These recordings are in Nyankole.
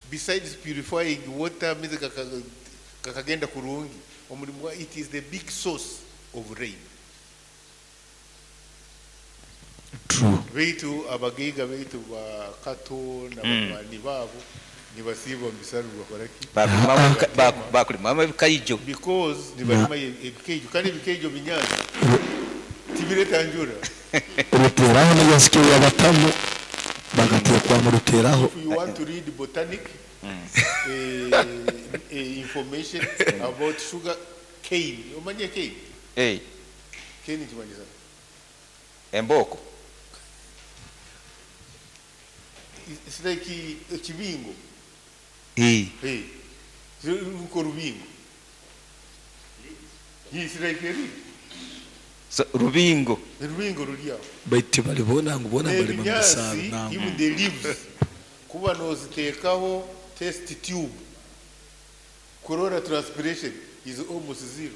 Besides purifying water, amaizi gakagenda kurungi, omurimo gwa it is the big source of rain. True. Beitu abagaiga beitu ba Kato na banywani baabo nibasiiba omu bisaaru nibakora ki? Bakurimamu ebikaijo. Because nibarima ebikaijo kandi ebikaijo binyaatsi tibireta njura. Ruteraho n'ebya yabatamu bagateekwamu ruteraho. If you want to read botanic information about sugar cane, omanyire cane? Eh. Cane nikimanyisa ki? Embooko. It's like ekibingo. Eh. Eh. Nko rubingo. It's like a reed. So, rubingo. Rubingo ruri aho. Baitu tibalibona ngu boona balima mu bisaaru Ebinyaatsi, nangwa. even the leaves, kuba noziteekaho test tube, kurora transpiration is almost zero.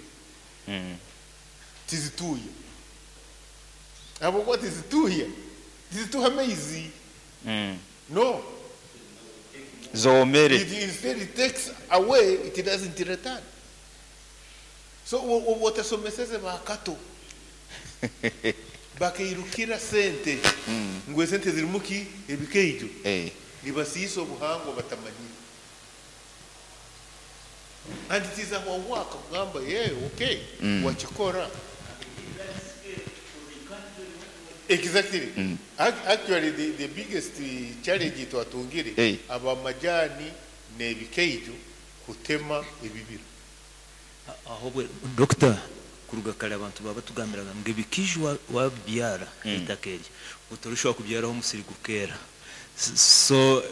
Tizituuya. Ahabw'okuba tizituuya, tizituha amaizi. No. Zoomere. It instead it takes away, it doesn't return. So obu otasomeseze ba Kato, bakairukira sente, ngu esente zirimu ki? Ebikaijo. Nibasiisa obuhangwa batamanyire. And it is our work kugamba, yeah, okay, wakikora. Exactly. Actually, the biggest challenge twatungire, abamajani n'ebikaijo kutema ebibira. Ahobwe doctor, kuruga kare abantu baba batugambiraga ngu ebikaijo wabibyara eitaka eryo otorishobora kubyaraho omusiri gukeera. So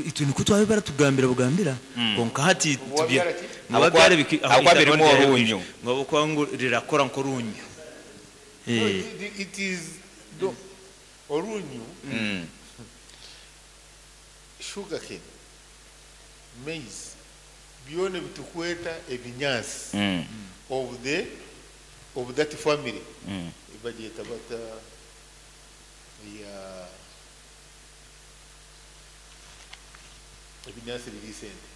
itwe nikwo twabe baratugambira bugambira, konka hati Wabyara ki? Wabyara Ahabw'okuba aho birimu itaka ryari orunyu. Ngu ahabw'okuba ngu rirakora nk'orunyu. No, it is no, orunyu, sugarcane, maize, byona bitukweta ebinyaasi of that family. Bagyeta bata ya ebinyaasi biri sente.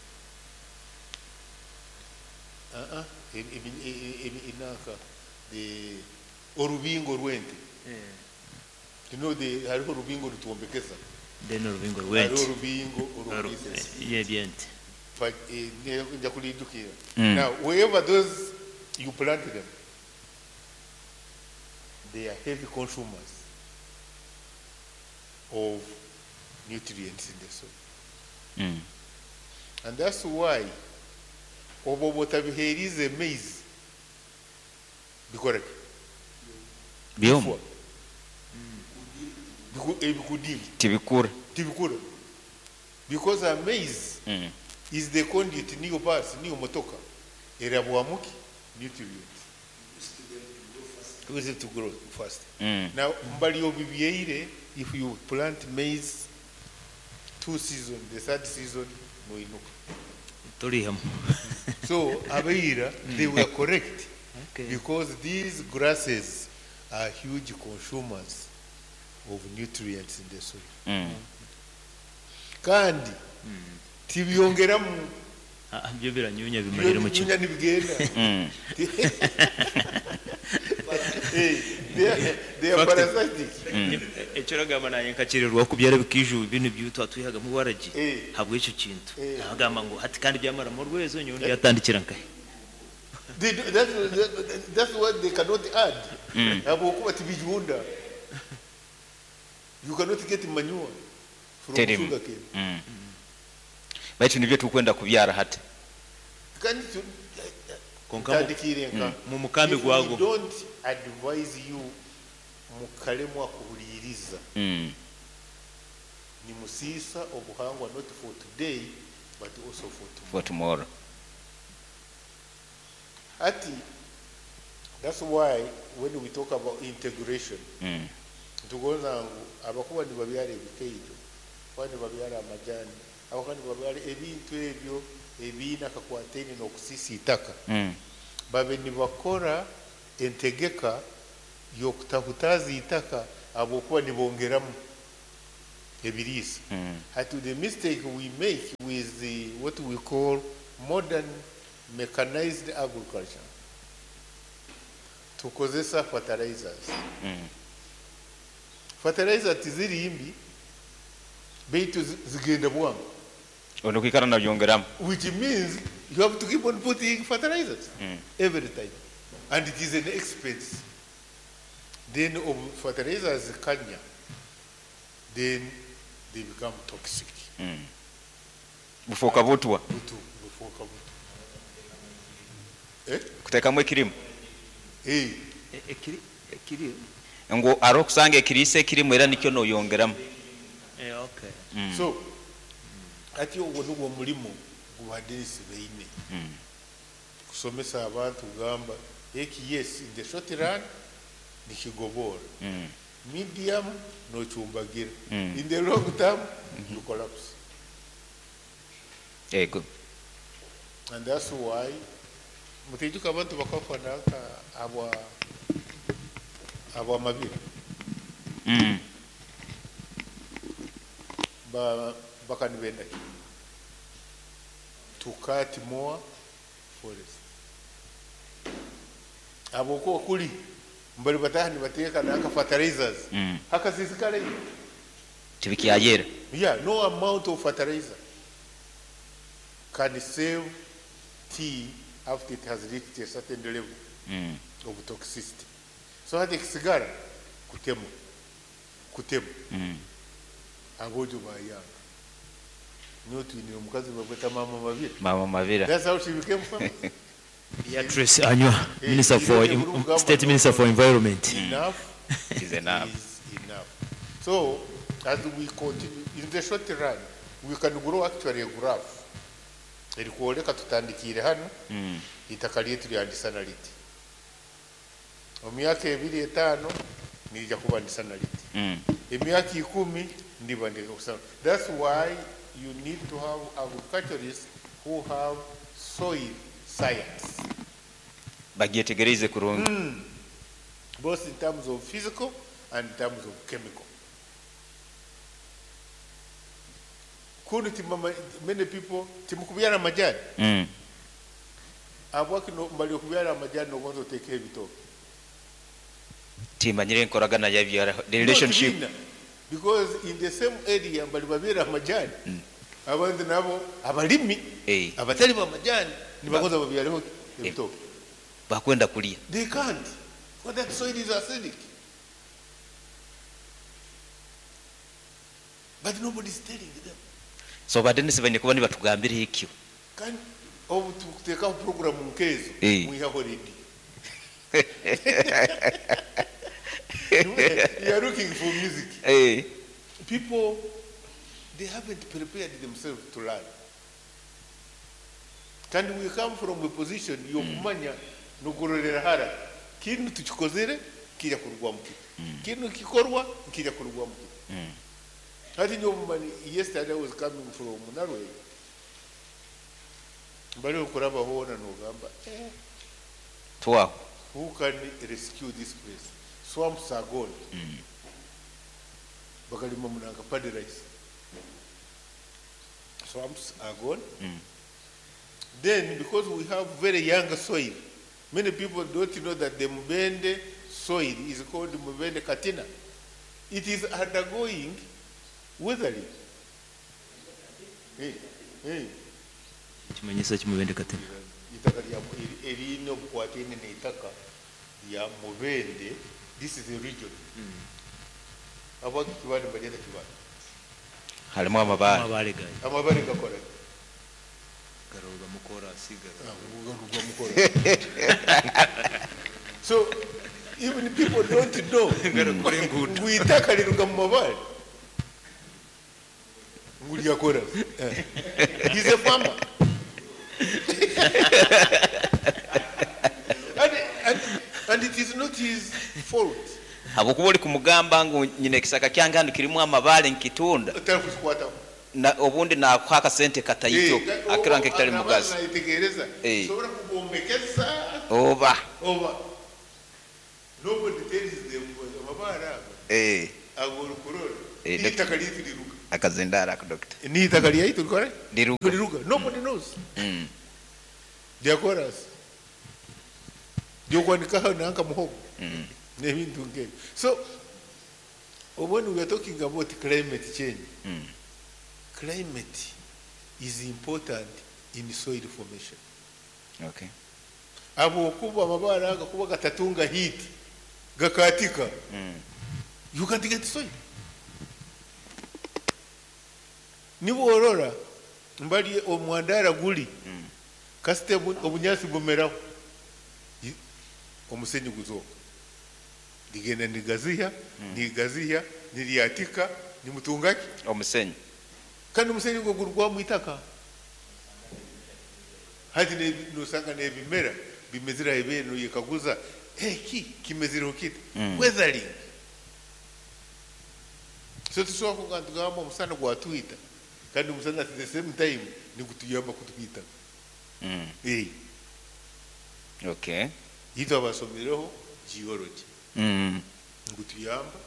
Inanka the orubingo rw'ente. You know the hariho orubingo rutwombekesa. Then orubingo Hariho rw'ente. orubingo oruriisa. Y'ebyente. But nja kulijukira. Now, wherever those you plant them, they are heavy consumers of nutrients in the soil. And that's why obo botabiheerize maize bikora ki? Byoma. Ebikudini. Tibikura. Tibikura. Because a maize is the conduit niyo bus niyo motoka erabwamuki nutrients. Use it to grow fast. Now mbali obibyeire, if you plant maize 2 seasons, the third season noinuka. Torihamu. So abaira, they were correct. Okay. Because these grasses are huge consumers of nutrients in the soil. Kandi tibyongeramu. Byo biranyunya bimarira mu Byonyunya nibigenda. They are Fact. parasitic. Ekyo ragamba naye nkakirirwa kubyara bikiju bino byo twatwihaga mu waragi. Habwe icyo kintu. Nagamba ngo hati kandi byamara mu rwezo nyondi yatandikira nkahe. They do, that's what they cannot add. Habwokuba tibijunda. You cannot get manure from Terimu. sugar cane. Baitu nibyo tukwenda kubyara hati. Kandi Konka tandikire nka. mu mukambi If we gwago. don't advise you mukalemwa kuhuliriza. Ni musisa obuhangwa not for today but also for tomorrow. For tomorrow. Ati, that's why when we talk about integration, tugonza ngu abakuba nibabyara ebikaijo, kuba nibabyara amajani, abakuba nibabyara ebintu ebyo ebiine akakwataine n'okusisa itaka. Babe nibakora entegeka y'okutahutaza itaka ahabw'okuba nibongeramu. Ebiriisa. Hati the mistake we make with the, what we call modern mechanized agriculture, tukozesa fertilizers. Fertilizer tiziri mbi, baitu zigenda bwangu. Ono kwikara nabyongeramu. Which means you have to keep on putting fertilizers every time. And it is an expense. Then of fertilizers kanya, then they become toxic. Bufoka butwa. Butu, bufoka butu. Eh? Kutekamu ekirimu. Eh. Ekiri, ekiri. Ngu aro kusanga ekiriisa ekirimu era nikyo noyongeramu. Eh, okay. So, ati ogwo nugwo mulimu gubadesi beine. Kusomesa abantu kugamba eki yes in the short run nikigobora. Medium nochumbagira. In the long term you collapse. Ego. And that's why mutijuka abantu bakafa naka abwa abwa mabira. Ba bakanibenda ki? To cut more forest. Abo ko kuli mbali bataha nibateeka naka fertilizers. Hakasisikale. Tibikyayera. Yeah, no amount of fertilizer can save tea after it has reached a certain level of toxicity. So hati kisigara kutema. Kutema. Abojo bayanga. Nyo twinire omukazi babweta mama Mabira. Mama Mabira. That's how she became famous. Beatrice Anywa, Minister for Hey, State Minister for Environment. Enough Is enough. is enough. So as we continue in the short run, we can grow actually a graph. Erikuoleka tutandikire hano itaka lyetu lyandisana liti. Emyaka ebiri etaano nirija kuba ndisana liti. Emyaka 10 ndiba ndikusana. That's why you need to have agriculturists who have soil science. Bagyetegereze kurungi. Both in terms of physical and in terms of chemical. Kundi timama, many people timukubyara majani. Abwaki no mbali okubyara amajani nogonza oteke ebitoke. Timanyire enkoragana yabyara the relationship. No, because in the same area mbali babyara amajani. Abantu nabo abalimi abatali ba majani nibagonza babyareho ebitoke. Bakwenda kulya. They can't. Because that soil is acidic. But nobody is telling them. So badenisi banye kuba nibatugambira ekyo. Kandi obu tukuteekaho program nkezo mwihaho ready. You are looking for music. People, they haven't prepared themselves to learn. Kandi we come from a position yokumanya nokurorera hara. Kinu tukikozere kirya kurugwa mukiti. Kinu kikorwa kirya kurugwa mukiti. Hati nyo yesterday I was coming from Norway. Mbali okuraba hona nogamba, Twaho. Who can rescue this place? Swamps are gone. Bakalima munanga paddy rice. Swamps are gone. Then, because we have very young soil, many people don't know that the Mubende soil is called Mubende Katina. It is undergoing weathering. Hey, hey. Kimanyisa ki Mubende Katina? Itaka lya erina obukwatene n'ettaka lya Mubende. This is a region. Abaki kibande balyeta kibande. Halimu amabaale. Amabaale gayo. Amabaale gakola. Garuga mukora sigara. Garuga mukora. So even people don't know. Ngu itaka liruga mu mabaale. Ngu lyakora. He's a farmer. And it is not his fault. Habwokuba oli kumugamba ngu nyina ekisaka kyange hano kirimu amabaale nkitunda. Otari kukikwataho. Na obundi nakuha akasente kataito, akira nk'ekitali mugazi. Nayitegereza. Nsobora kugombekeza. Oba. Oba. Nobody tells them amabaale ago. Ago olukurora. Itaka lyetiriruka. Akazindaro ako doctor. N'eitaka ryaitu rikora Riruga. Riruga. Nobody knows. Rya korasi. Ry'okwanikaho nanka muhogo. N'ebintu nk'ebyo. So when we are talking about climate change, climate is important in soil formation. Okay. Ahabw'okuba amabaare aga kuba gatatunga heat, gakaatika, you can't get soil. Niba orora mbari omwandara guri, kasita obunyaasi bumeraho, omusenyi guzooka. Rigenda nigaziha, nigaziha, niryatika, nimutunga ki? Omusenyi. Kandi omusenyi ogwo gurugwamu itaka. Hati nosanga n'ebimera bimezire aha ibeere noyekaguza, eki kimezireho kita? Weathering. So tusobola kugamba tugamba omusana gwatwita, kandi omusana at the same time nigutuyamba kutwita. Okay. Itwe abasomireho geology. Nigutuyamba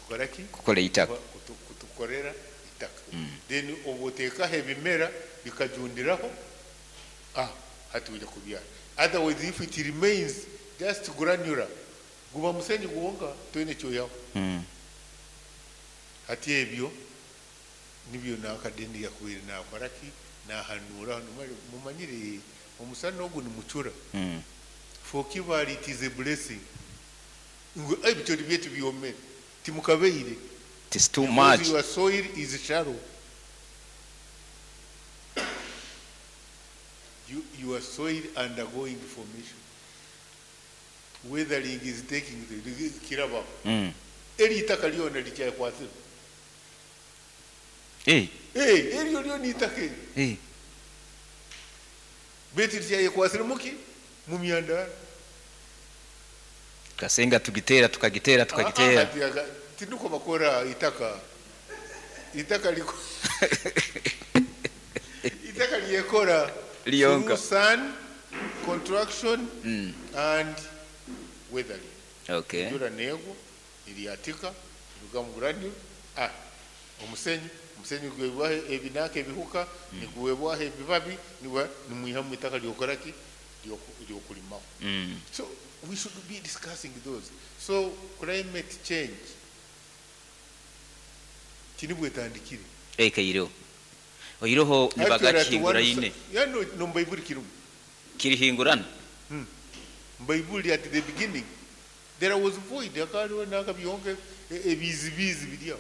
kukora ki? Kukora itaka. Kutukorera itaka. Then obu oteekaho ebimera bikajundiraho, hati ojya kubyara. Otherwise if it remains just granular, guba musenyi gwonka toine kyoyaho. Hati ebyo nibyo nakadeni yakubaire nakora ki? Nahanuura hanu mumanyire omusana ogu nimucura. For Kibaale it is a blessing. Ngu ebicoori byaitu byomere timukabeire. It is too Because much. your soil is shallow. Your soil undergoing formation. Weathering is taking the kiraba. Eri itaka lyona likyakwasire. Eryo lyona itaka eryo. Beitu likyayekwasire muki? Mu myandara. Tukasenga tugitera, tukagitera, tukagitera. Tinuko bakora itaka. Itaka liko. Itaka lyekora. Lyonka. Through sun, contraction, and weathering. Enjura neegwa, eryatika, eruga mu granule, omusenyi, omusenyi gwebwaho ebinaka ebihuka, niguwebwaho ebibabi, nimwihamu itaka lyokora ki? Lyokurimaho. So we should be discussing those. So climate change tinibwetandikire. Ekaireho. Oiroho Actually, nibagakihingura at one yine. Yeah, no, no, Bible kirimu. Kirihingurana. Bible at the beginning there was void, akariho nakabyonke ebizibizi biri aho.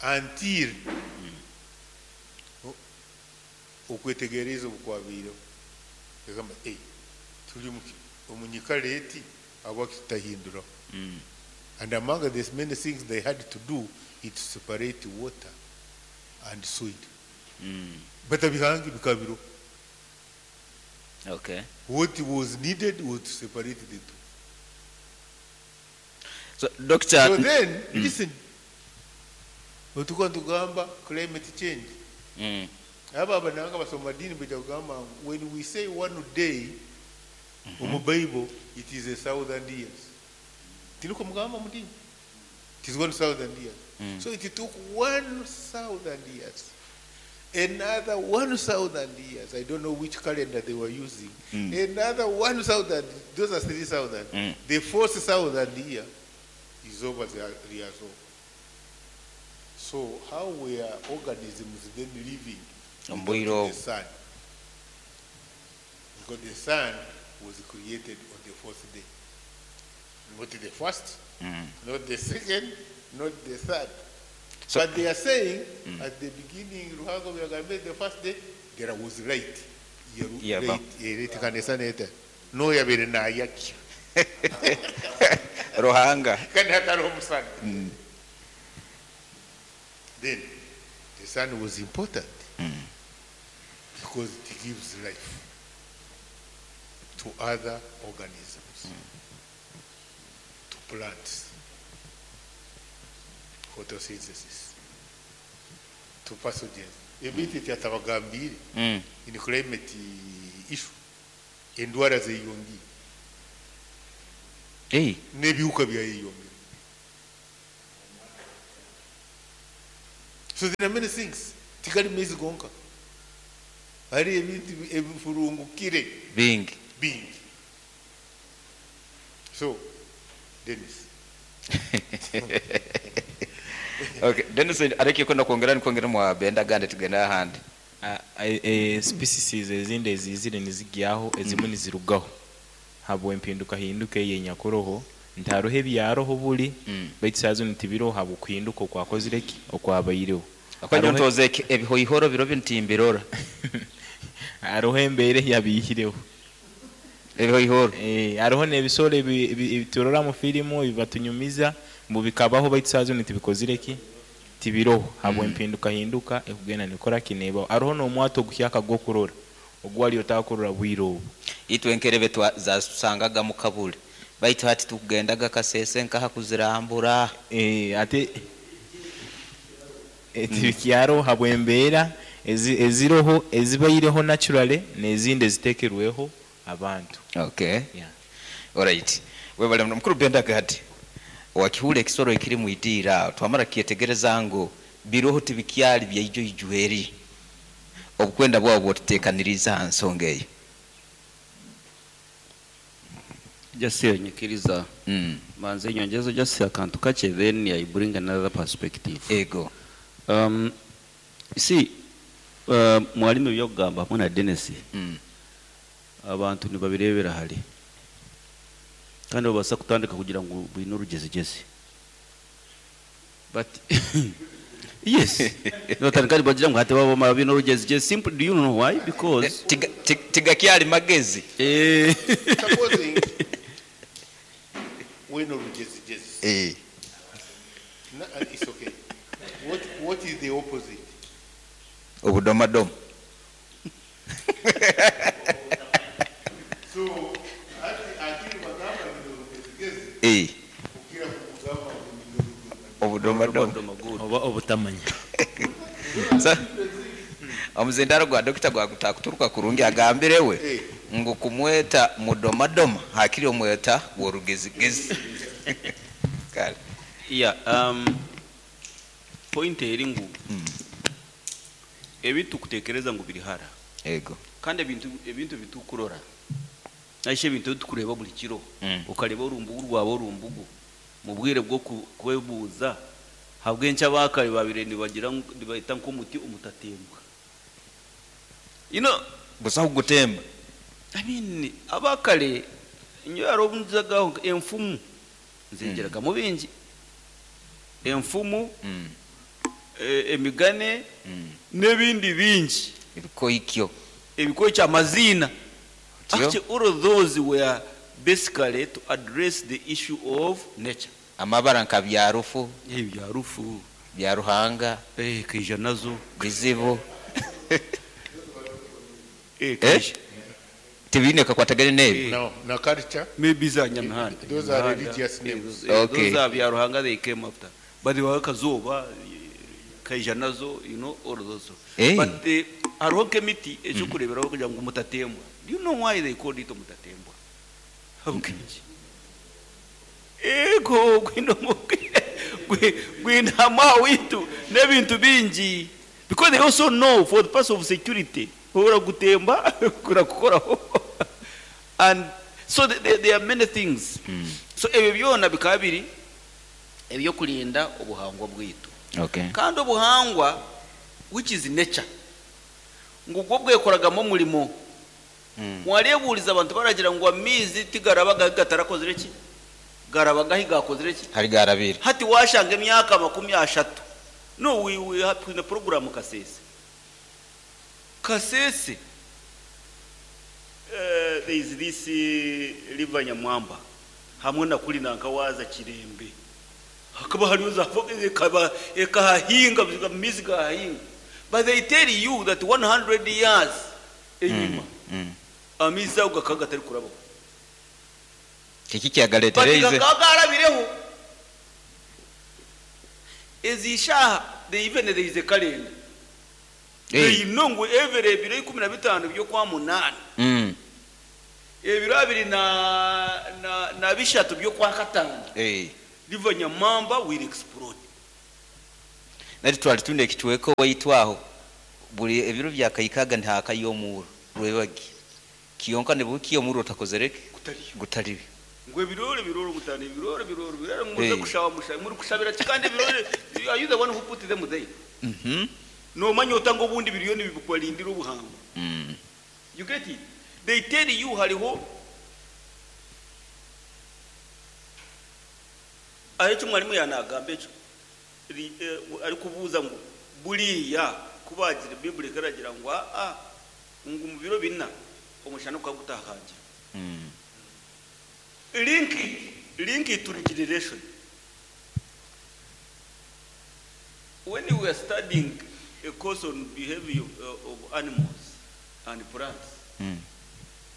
Until okwetegereza obukwabaireho. Egamba, turi omunyikara eti abakitahinduraho. And among the many things they had to do is to separate water and soil. Batabihangi bikabiro. What was needed was to separate the two. So, doctor, So then, listen. Otuka tugamba climate change. Aba abananga basoma dini bajja kugamba when we say one day omu Bible it is 1,000 years. Tinuko mugamba mu dini. It is 1,000 years. So it took 1,000 years. Another 1,000 years. I don't know which calendar they were using. Another 1,000. Those are 3,000. The 4,000 year is over the Riazo. So how were organisms then living without Ombuiro. the sun? Because the sun was created on the fourth day. Not the first, not the second, not the third. So, but they are saying at the beginning, Ruhango Byagambe, the first day, there was light. Yeah, Light, light kanisa neta. No yabere na yaki. Ruhanga. Kandi hatariho omusana. Then the sun was important because it gives life to other organisms, to plants, photosynthesis, to pathogens. Ebintu ebyatabagambire in climate issue, endwara zeyongire. Hey. N'ebihuka byayeyongera. So there are many things tigari maizi gonka hariho ebintu ebifurungukire Bingi. Bingi. So Denis. Okay, Denis areke kwenda kwongera nikwongera mwa benda gande tugenda ahandi. Species ezindi ezizire nizigyaho ezimwe nizirugaho habw'empindukahinduka eyi enyakuroho nti haroho ebyaroho buli baitu saaha zinu tibiroho habw'okuhinduka okwakozire ki okwabaireho. Ahakuba nyowe Haroho ntooza ebihoihoro biro binu timbirora. Haroho embeera eyabiihireho. Ebihoihoro. Haroho n'ebisoro ebi turora mu firimu ebibatunyumiza ngu bikabaho baitu saaha zinu tibikozire ki tibiroho habw'empindukahinduka ekugenda nekora ki nebaho. Haroho n'omwato oguhyaka gw'okurora ogu wali otakurora bwire obu. Itwe enkerebe zatusangaga mu kabule baitu hati tukugendaga Kasese nkaha kuzirambura. Ate tibikyaroho habw'embeera eziroho ezibaireho naturally n'ezindi ezitekerweho abantu. Okay. Yeah. Alright. Webale muno mukuru Benda Gad. Wakihurra ekisoro ekiri mwidiiro aho twamara kukyetegereza ngu biroho tibikyali byaijo ijweri. Obukwenda bwawe bwotutekaniriize ha nsonga eyo. Just nyikiriza manze nyongezo just akantu kakye, then I bring another perspective. Ego. You see, mwalimu ebyokugamba hamwe na Dennis, abantu nibabirebera hare kandi babaasa kutandika kugira ngu bwine orugyezegyezi, but yes, nibatandika nibagira ngu hati babamara biine orugyezegyezi. Simple, do you know why? Because Tigakyali magezi. Supposing wine orugyezegyezi. No, it's okay. What is the opposite? Obudomadoma. So, ati bagamba bino orugyezegyezi. Kugira kugamba bino obudomadoma. Oba obutamanya. Omuzindaro gwa dokita gwagutakuturuka kurungi agambirewe ngu kumweta mudomadoma hakiri omweta worugezigezi. Kale. Yeah, point eri ngu ebintu kutekereza ngu biri hara. Ego. Kandi ebintu bitukurora. Naishe ebintu tukureba buli kiro. Okareba orumbugu rwawe orumbugu. Mu bwire bwo kwebuuza habwenki abakare babire nibagira nibaita nk'omuti omutatembwa. You know, busaho gutemba. I mean, abakare nyo yarobunzagaho enfumu nzengeraga mu bingi. Enfumu, emigane, n'ebindi bingi. Ebikoikyo. Ebikoikyo amazina. Tyo. Actually, all of those were basically to address the issue of nature. Amabara nka byarufu. Byarufu. Bya Ruhanga. Kaija nazo. Bizibu. Kaija. Tibine kakwatagane n'ebi. No, na culture. Maybe za Nyamihanda. Those are religious names. Okay. Those are bya Ruhanga, they came after. But they were kazoba, kaija nazo, you know, all of those. But the hariho nk'emiti ekyokureeberaho kugira ngu mutatembwa. Do you know why they called it mutatembwa? Habw'enki? Ego, gwinama witu n'ebintu bingi. Because they also know for the purpose of security, ora gutemba kurakukoraho. And so there are many things. So ebyo byona bikaba biri ebyokurinda obuhangwa bwitu. Kandi obuhangwa, which is nature, ngu bwo bwekoragamo omurimo. Mwarebuuriza abantu baragira ngu amaizi tigarabaga gatarakozire ki? Garabaga gakozire ki? Hari garabire. Hati washanga emyaka 30. No, we have in the program Kasese. Kasese. There is this river Nyamwamba. Hamwe na kuri nanka waza Kirembe. Hakaba hariyo za ekaba ekahahinga mizi gahinga. But they tell you that 100 years enyuma. Amizi ago gakaga atari kuraba. Kiki kyagaletereze? But gakagarabireho. Ezishaha, they even there is a calendar. They know ngo every ebiro ikumi na bitano byo kwa munani. Ebiro abiri na bishatu byo kwa katano. River Nyamwamba will explode. Nari twali twine ekicweka owaitu aho, buri ebiro byakaikaga nihakayo omuuro rwebagi. Kyonka nibukiya omuuro otakozire ki? Gutariyo. Gutariyo. Ngu ebirooro ebirooro mutana ebirooro ebirooro birara ngu muze Eh. kushaba mushabe muri kushabira ki kandi ebirooro are you the one who put them there? Mhm. Nomanya ota ngu obundi biriyo nibikubarindira obuhango. You get it? They tell you hariho aho ekyo mwarimu yanagamba ekyo ri- eh, arikubuuza ngu buriya ku bagira Bible ekaragira ngu aa ngu mu biro bina omushana gukaba gutahagira. Link it, link it to regeneration. When we were studying a course on behavior of animals and plants,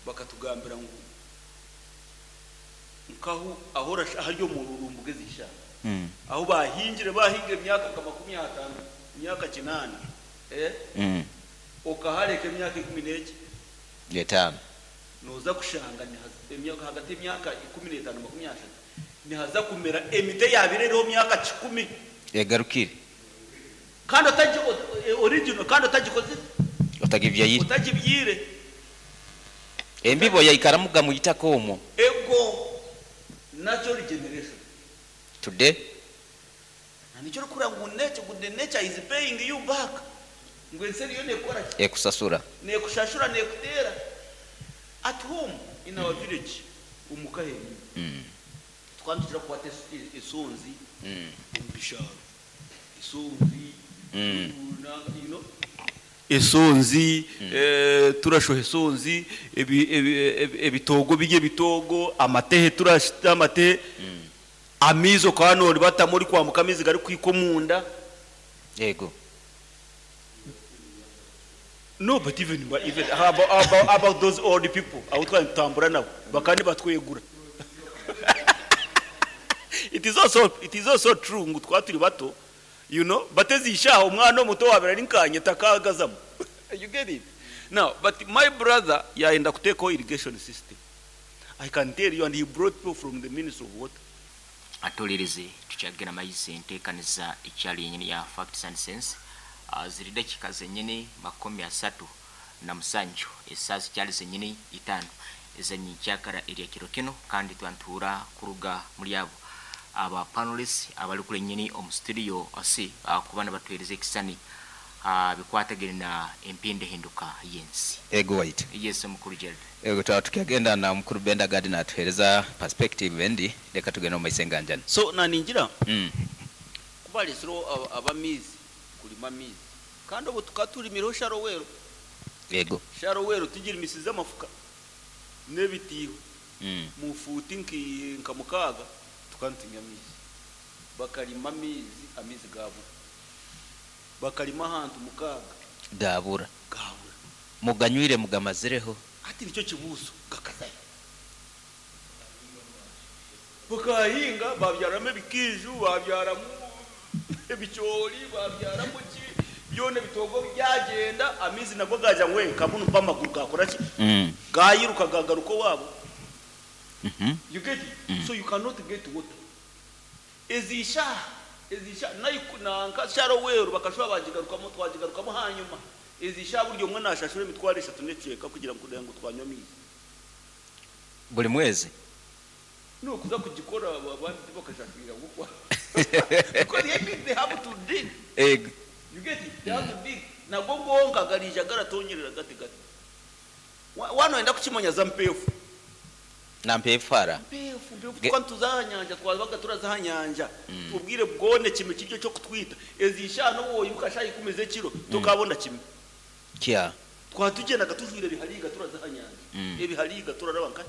bakatugambira ngu nkaho aho ahari omururumbu gw'ezisha aho bahingire bahingire emyaka nka 50, emyaka 8, okahareka emyaka ikumi n'eki? Etaano. Noza kushanga emyaka hagati y'emyaka 15 30 nihaza kumera emiti yabire eriho myaka 10. Egarukire. Kandi original, kandi otagikoze. Otagibyayire. Otagibyire. Embibo yaikaramuga mu itaka omwo. Ego natural regeneration. Today. Na nicyo rikura ngu nature, ngu the nature is paying you back. Ngu ensi eriyo nekora ki? Ekusasura. Nekushashura, nekutera. At home in our village omuka henyini. Twandukira kukwata esonzi omu bisharo. Esonzi, you know? Esonzi, turashoha esonzi, ebitogo bijye ebitogo, amatehe turashita amatehe. Amizo kwa nori batamuri kwambuka amizi gari kwiko munda. Yego. No, but even, but even how about, how about, about those old people? Abo twatambura nabo bakandi batwegura. It is also, it is also true ngu twaturi bato, you know, batezisha umwana muto wabera ninkanye takagazamo. You get it? Now, but my brother yaenda kuteko irrigation system. I can tell you, and he brought people from the Ministry of Water. Atolereze tukyagenda maizi enteekaniza ekyali yenyini ya Facts and Sense. Ziri dakika zenyini 37 esaaha zikyali zenyini 5 ezanyikyakara erya kiro kino, kandi twantuura kuruga muri abo aba panelists abali kule nyini omu studio ase kuba nabatuhereza ekisani bikwatagene na empindahinduka y'ensi. Ego white. Yes, mukuru Gerald. Ego twaba tukyagenda na mukuru Benda Gadi natuhereza perspective endi, reka tugende omu maiso enganjani. So naningira kubalesero abamizi kulima mizi kandi obu tukaturimiraho sharowero. Ego. Sharowero tugira imisizi amafuka n'ebitiiho. Mufuti nka mukaaga tukantunya amizi. Bakalima amizi, amizi gabura. Bakalima ahantu mukaaga. Gabura. Gabura. Muganywire mugamazireho. Ati nicyo kibuzo gakazayo. Bakahinga babyaramo ebikiju, babyaramo ebicoori, babyaramo ki byona ebitogo byagenda, amizi nabwo gaja ngwe kabunu pamaguru gakora ki? Gayiruka gagaruka wabo. You get it? So you cannot get water. Ezisha, ezisha nanka sharo weru bakashwa bajigarukamo twajigarukamo hanyuma. Ezisha buryo mwe nashashura emitwaro 3 n'eceka kugira ngo kugira ngo twanywe amizi. Buri mwezi? No kuza kugikora abandi bakashashurira gukwa. Because they think they have to dig. Egg. You get it? They have to dig. Nabwo gonka garija garatonyerera gati gati. Wano enda kukimanya za mpefu. Na mpefara. Mpefu, mpefu twantuza nyanja twabaga turaza nyanja. Ubwire bwone kimwe kiryo cyo kutwita. Ezisha no woyibuka shayi kumeze kiro tukabona kimwe. Kya. Twatugendaga tujwire bihariga turaza nyanja. Ebihariga turaraba nka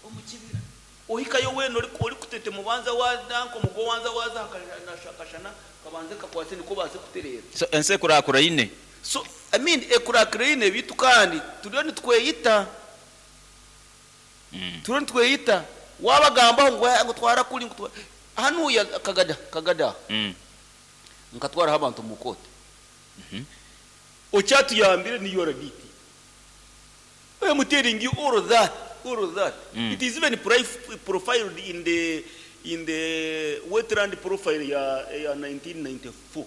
omukibira. Ohikayo weno ori kutete mubanza wa danko mugo wanza waza akashana kabanze kakwase niko baze kuterera. So ense kurakura ine. So I mean ekurakura ine bitu kandi turiyo nitweyita. Turiyo nitweyita wabagamba ngo ngo twara kuri ngo hanu ya kagada kagada. Nkatwara abantu mu kote. Ocyatuyambire ni yoraditi. I am telling you all of that. All of that. It is even profiled in the in the wetland profile ya ya 1994.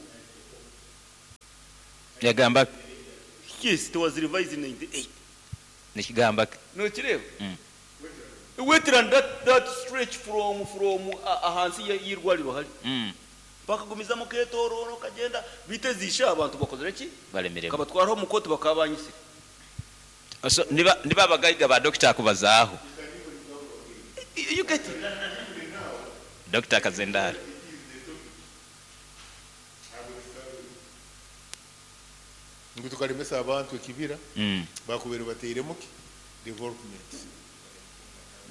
Yagamba ki? Yes, it was revised in 98. Nikigamba ki? Nokireeba? Wetland that, that stretch from from ahansi y'irwariro hari. Bakagumizamu ketororo kagenda bitezisha abantu bakozire ki? Balemererwa. Kabatwaraho omu kooti bakaba banyisire. So niba niba abagaiga ba dokita akubazaaho. You get it? Dokita Kazendara. Ngu tukaremesa abantu ekibira bakubere bateiremu ki development.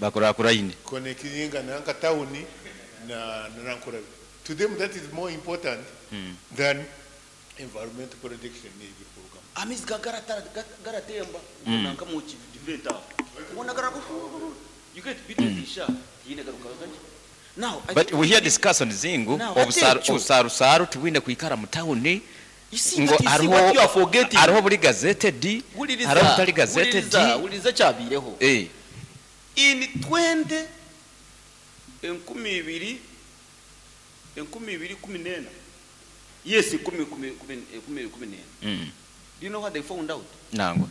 Bakurakuraine. Connecting nanka town na nankura. To them that is more important than environmental protection n'ebikurugamu. Amaizi garatemba nanka mu kivent aho. Ubona you get bitezisha tiine garuka ganje. Now I But think we hear discussion zingu Now, obusaru ate ekyo- obusarusaru tubwine kwikara mu town You see, ngo but you see hariho what you are forgetting. hariho buri gazetted Wuliriza, hariho butari gazetted wuliriza, wuliriza kyabiireho. eh In 20 2014, yes, 2014. Do you know what they found out? Nangwa.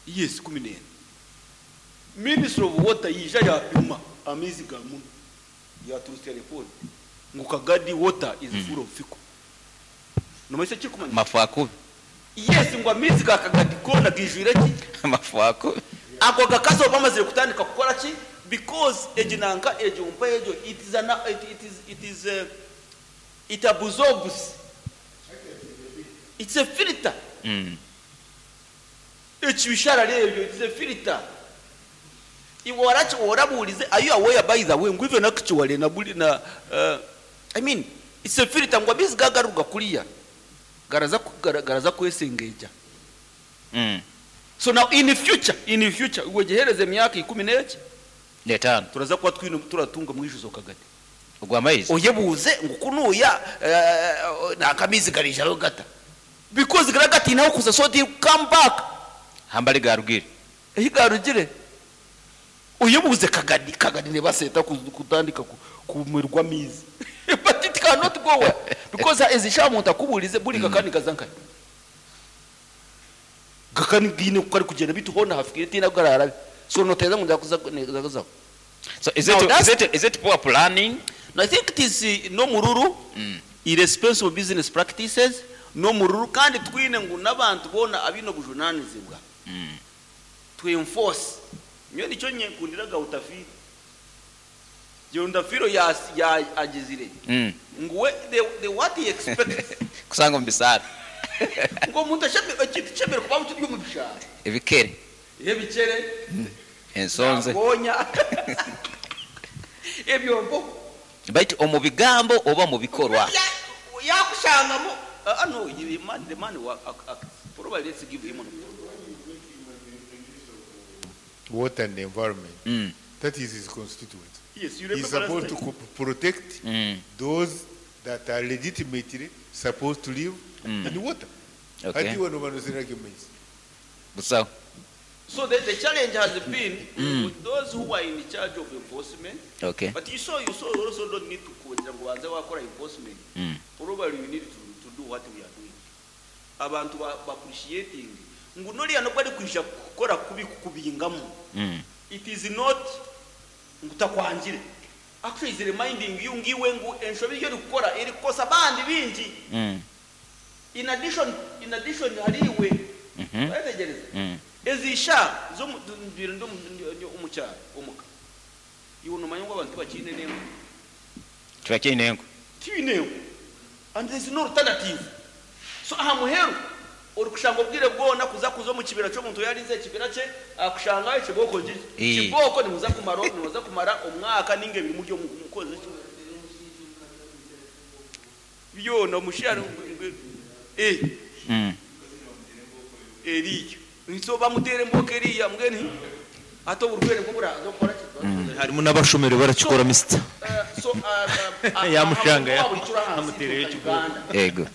Yes, 14. Minister of Water yija yapima amaizi ga muno yaturutse report ngu Kagadi water is full of fecal. Nomaisa kikumanya? Mafu akubi. Yes, ngu amaizi ga Kagadi goona gaijwire ki? Mafu akubi. Ago gakazi bamazire kutandika kukora ki? Because egyo nanka egyo mpa egyo it is an, it, it is, it is it absorbs. It's a filter. Ekibishara ebyo it is a filter. Iwe warabuurize, are you aware by the way ngu even actually na buli na I mean it's a filter ngu amaizi gagaruka kuriya garaza garaza kwesengeja. So now in the future, in the future wegehereze emyaka ikumi n'eki n'etaano turaza kuba twine turatunga mwishuzo Kagadi. Ogwa maizi. Oyebuuze ngu kunuya nakamizi garijayo gata. Because garagatina kuza so they come back. Hambali garugire. Ehi garugire. Oyebuuze Kagadi, Kagadi ne baseta kutandika kumirwa mizi. But it cannot go well because ezisha muntu akubulize buri kakani kazanka. Kakani gine kari kugenda bituhona hafikire tina garara. So noteza ngo ndakuza ndakuza. So is Now it, that's is it, is it poor planning? No, I think it is no mururu, irresponsible business practices, no mururu kandi twine ngu n'abantu bona abino bujunanizibwa. To enforce. Nyo nicyo nkundiraga utafiri. Utafiro ya ya agizire. Nguwe the what he expects. Kusanga mbisara. Ngo umuntu ashaka ikintu cyemere kuba mu cyo mu bishara. Ebikere. Ebikere. Ensonze. Gonya. Ebyombo. Baitu omu bigambo oba mu bikorwa. Yakushangamo ano the man probably let's give him an water and the environment. That is his constituent. Yes, you He's remember last supposed to protect those that are legitimately supposed to live in water. Okay. Hati wano bano sinake maizi. Busawo. So the challenge has been with those who are in charge of enforcement. Okay. But you saw also don't need to wakora enforcement. Probably you need to do what we are doing. Abantu ba appreciating. Ngu noriya no bari kwisha kukora kubi kukubingamu. It is not ngutakwangire. Actually is reminding you ngiwe ngu enshobi yo gukora iri kosa bandi bingi. In addition hariwe. Bategereza. Ezisha zo ndo omukyalo omuka. Iwe nomanya ngo abantu bakine nengo. Tibakine nengo. Tibine. And there is no alternative. So aha muheru uri kushanga obwire bwona kuza kuzo mu kibira cyo muntu yarize ekibira cye akushanga ekiboko gije. Kiboko ni muza kumara ni muza kumara omwaka ninge biri muryo mukoze. Byo mushara Eriyo. Nso bamutere mboke eriya mbweni ato burwere bwo buraza gukora harimo n'abashomeri barakikora Mr. So yamushanga ya amutereye Uganda. Ego.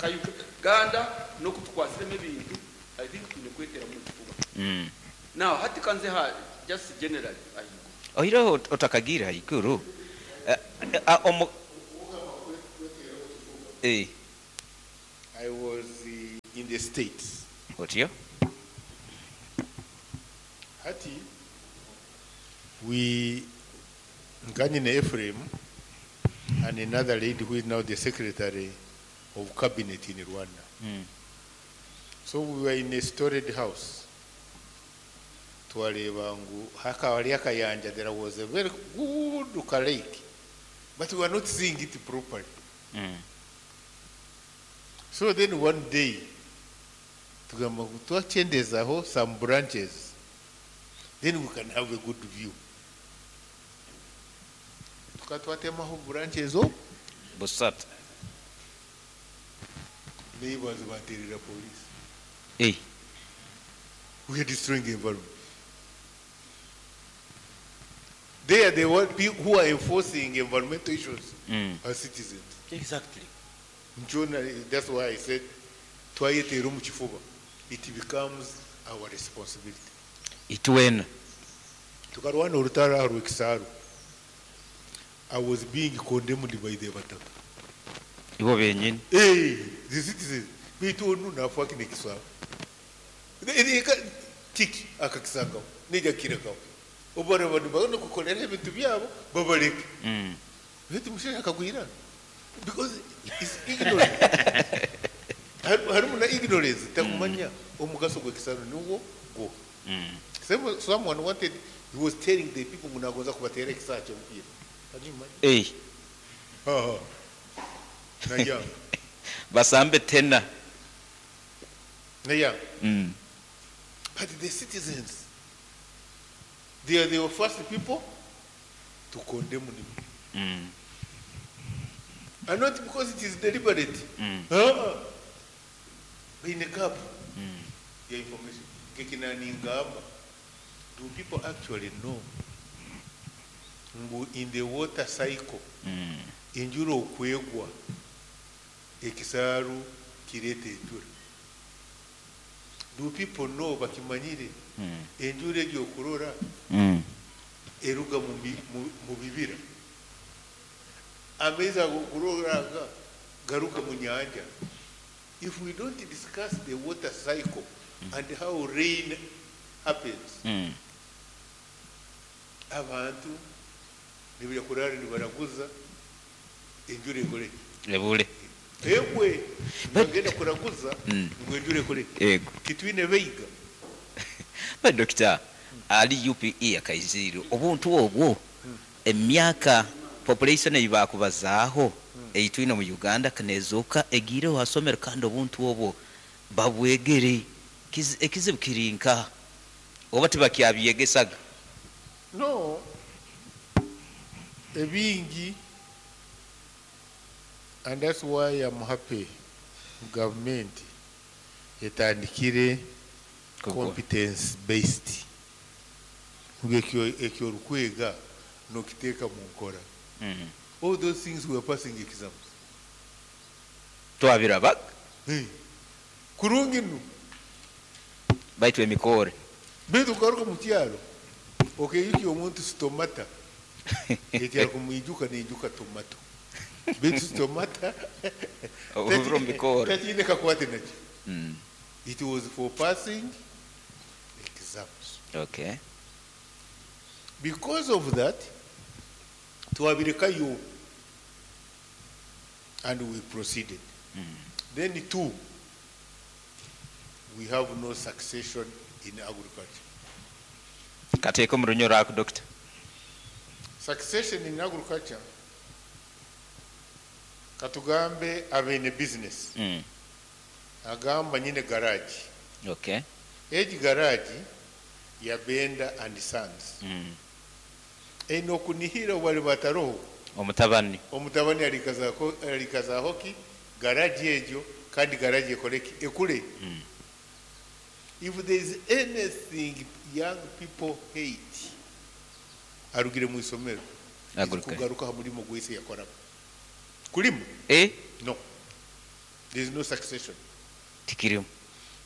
Uganda no kutukwasiremo ebintu I think tune kwetera mu kifuba. Now hati kanze ha just generally ahigo. Oiro otakagira ikuru. Ah, omu Eh, I was in the States. Otyo. Hati we Nganyine Ephraim and another lady who is now the secretary of cabinet in Rwanda. So we were in a storied house. Twareba ngu hakaba hariyo akayanja, there was a very good lake, but we were not seeing it properly. So then one day, tugamba ngu twakyendezaho some branches, then we can have a good view. Tukaba twatemaho branches o Busatu. Neighbors baterera police. Eh. We are destroying the environment. They are the one people who are enforcing environmental issues as citizens. Exactly. Njona, that's why I said, twayeteera omu kifuba. It becomes our responsibility. Itwena. Tukarwana orutaro aha rw'ekisaaru. I was being condemned by the bataka. Ibo benyini. Hey, the citizens. Baitu onu nafa kine kisaaru. Kiki akakisangaho nijja kukirekaho. Obu nibagenda kukorera ebintu byabo babareke. Baitu mushaija akagwirana. Because it's ignorance. Harimu na ignorance takumanya omugaso gw'ekisaaru niwo gwo. Someone wanted, he was telling the people ngu nagonza kubateera ekisaaru ky'omupiira. Can you imagine? Eh. Ha, ha. Nayanga. Basambe tena. Nayanga. But the citizens, they are the first people to condemn him. And not because it is deliberate. In a gap. The information. Kekinaningamba. Do people actually know? Ngu in the water cycle, enjura okwegwa, ekisaaru kireeta enjura. Do people know bakimanyire enjura egyo okurora eruga mu bibira? Amaizi ago okurora aga garuka mu nyanja. If we don't discuss the water cycle and how rain happens, abantu nibajya kurara nibaraguza enjura ekore. Ebure. Egwe bagenda kuraguza ngo enjura ekore. Yego. Titwine beiga. But doctor, ali UPE akaiziro obuntu obwo emyaka population eyibakubazaaho eyitwine mu Uganda kanezoka egire wasomero kandi obuntu obwo babwegere ekizibu kirinka oba tibakyabiyegesaga. No, ebingi, and that's why I'm happy government etandikire competence based. Ekyo ekyo orukwega nokiteeka mu nkora. All those things were passing exams. Twabirabaga. Hey. Kurungi nu. Baitu emikore. Baitu ukaruka mu kyaro. Okeyuki omuntu stomata. Eti akumwijuka neijuka tomato. Baitu stomata. Oburo mikore. Takiine kakwate nakyo. It was for passing exams. Okay. Because of that, twabirekayo and we proceeded. Then two, we have no succession in agriculture. Kateeko mu runyoro ako, doctor. Succession in agriculture, katugambe abene business. Agamba nyine garage. Okay. Egi garage ya Benda and Sons. Eno kunihira wali bataroho. Omutabani. Omutabani alikazaho ki garage ejo kandi garage ekoleki ekule. If there is anything young people hate, arugire mu isomero. Aguruka. Kugaruka ha mulimo gwese yakoraga. Kulimu? Eh? No. There is no succession. Tikirimu.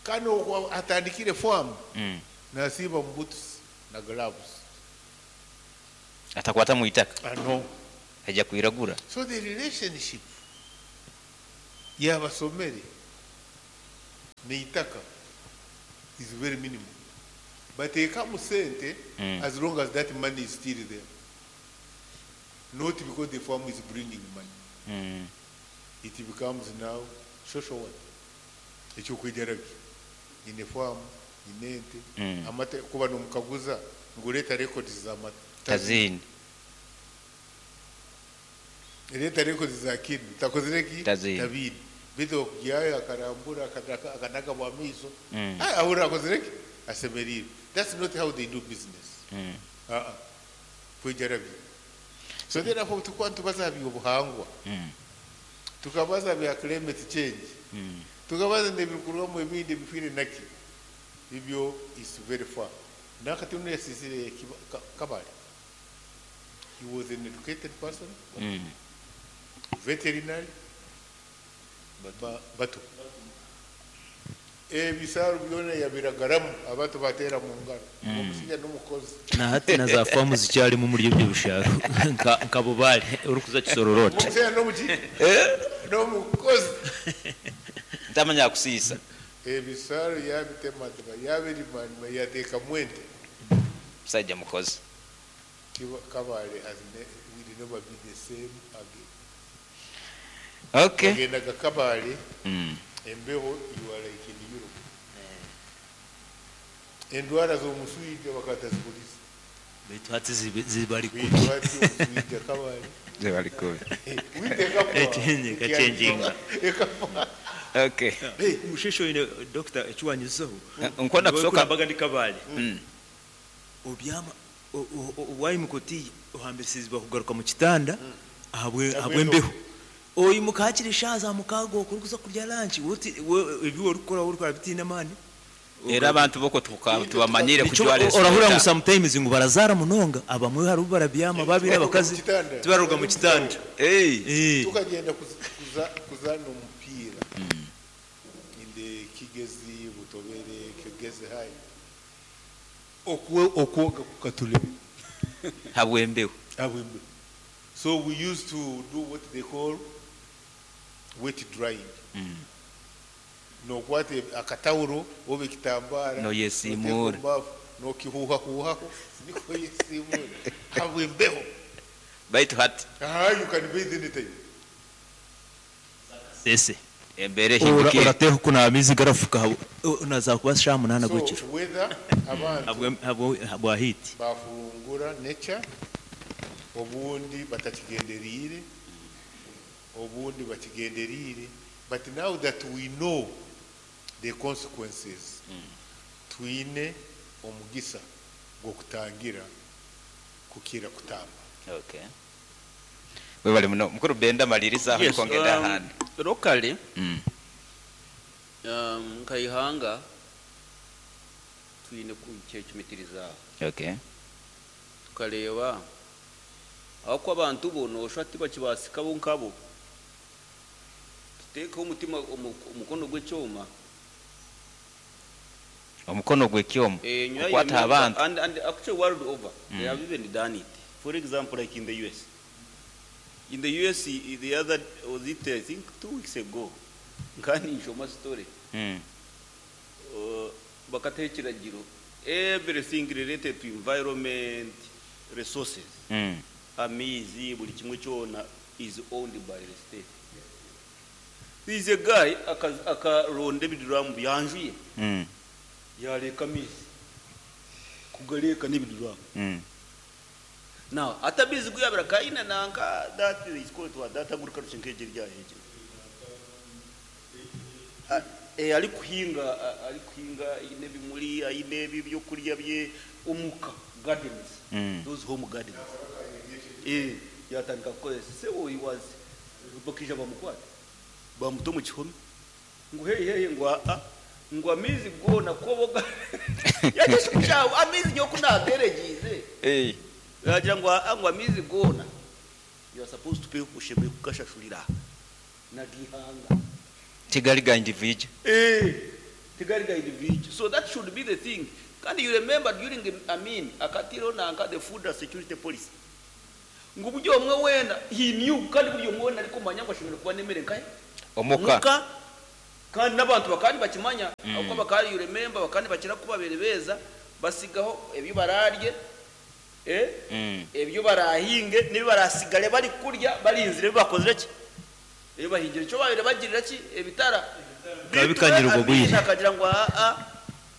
Kano atandikire farm. Nasiba mu boots na gloves. Atakwata mu itaka. Ah, no. Aija kwiragura. So the relationship y'abasomere n'eitaka is very minimal. Bateekamu sente as long as that money is still there. Not because the farm is bringing money. It becomes now social one. Ekyokwegyera bye. Nyine farm, nyine ente, amata kuba nomukaguza ngu reeta records z'amata. Taziine. Reeta records za kinu. Takozire ki? Taziine. Tabiine. Beitu okugyayo akarambura akanaga bwa maiso. Ahurira akozire ki? Asemeriirwe. That's not how they do business. Uh-uh. Kwegyera bye. So therefore tukuba nitubaza aha by'obuhangwa. Tukabaza aha bya climate change. Tukabaza n'ebirikurugamu ebindi ebifiire naki. Ebyo is very far. Nakati onu yasisire Kabale. He was an educated person. Veterinary. Bato. Ebisaaru byona yabiragaramu abantu bateera mu ngaro. Omushaija n'omukozi. Na hati na za faamu zikyarimu omuri ebyo bisharo nka Bubare orikuza Kisororote. Omushaija n'omuki? N'omukozi. Ntamanya kusiisa. Ebisaaru yabitematema, yabirimarima, yateekamu ente. Musajja mukozi. Kabale has will never be the same again. Okay. Ogendaga Kabale, embeho you are like in Europe. Endwara z'omuswija bakataziguriza. Baitu hati zibari kubi. Baitu hati omuswija Kabale. Zibari kubi. Witekafa. Ekyenyi, ekyenjinga. Ekafa. Okay. Hey, musheshe oine doctor ekiwanyizaho. Nkwenda kusooka Mbaga ndi Kabale. Obyama wayimuka oti ohambisirizibwa kugaruka mu kitanda ahabw'embeho. Oyimuka hakiri eshaaha za mukaaga okwo orikuza kurya lunch ebi orikukora orikukora bitiine amaani. Era abantu boko tubamanyire kujwara Orahurira ngu sometimes ngu barazaara munonga abamwe hariho barabyama babiri abakazi tibaruga mu kitanda. Tukagenda kuzaana omupiira in the Kigezi, Butobere, Kigezi High. Okwoga kukatulema. Habwembeho. Habwembeho. So we used to do what they call wet drying. Nokwata akatawuro oba ekitambara noyesimura nokihuhahuhaho niko yesimura habwembeho. Baitu hati you can bathe anytime. Sese embere hindukire. Orateho kunaaba amaizi garafuka naza kuba shaaha munaana So gw'ekiro. weather abantu Habwa heat. Bafungura nature obundi batakigenderiire obundi bakigenderiire, but now that we know the consequences, twine omugisa gw'okutangira kukira kutamba. Okay. Webale muno mukuru Benda maliriza aho Yes, nikongenda ahandi. Locally, nkaihanga twine kukyecumitiriza. Okay. Tukareba aho ko abantu bo noshwa tibakibasika bo nkabo. Tutekeho omutima omukono gw'ekyoma. Omukono gw'ekyoma. Nyuma Okwata y'emyaka, abantu. And actually world over, they have even done it. For example, like in the US. In the US, the other, was it, I think, 2 weeks ago, nkani nshoma story. Bakateho ekiragiro. Everything related to environment, resources. Amaizi, buli kimwe kyona is owned by the state. There is a guy akaronda ebiduramu byanjuye. Yareka amaizi. Kugareka n'ebiduramu. Now, atabizi kuyabira kaina nanka that is called what that agriculture nkeje rya heje. Ari kuhinga, ari kuhinga ine bimuri, ine byo kurya bye omuka gardens. Those home gardens. Yatandika kukozesa. Se wo he was bakija bamukwata. Bamuto mu kihome. Ngo hey hey ngo a ngo amizi gona koboga. Yaje kushawo amizi nyo kunateregize. Yagira ngo a ngo amizi gona. You are supposed to pay ushembe kukashashurira. Nagihanga. Tigali ga individual. Tigali ga individual. So that should be the thing. Can you remember during the Amin, akatiro na anka the food and security policy? Ngu buri omwe weena, he knew, kandi buri omwe weena arikumanya ngu ashemereire kuba n'emere nkahe? Omuka. Omuka. Kandi n'abantu bakaba nibakimanya, ahabw'okuba bakaba, you remember, bakaba nibakira ku babaire beeza, basigaho ebi baraarye, ebyo baraahinge, n'ebi baraatsigare barikurya barinzire ebi bakozire ki? Ebi bahingire. Nikyo baabaire bagirira ki? Ebitara. Bikaba Beitu we bikanyire obwo Amiini bwire. akagira ngu aa,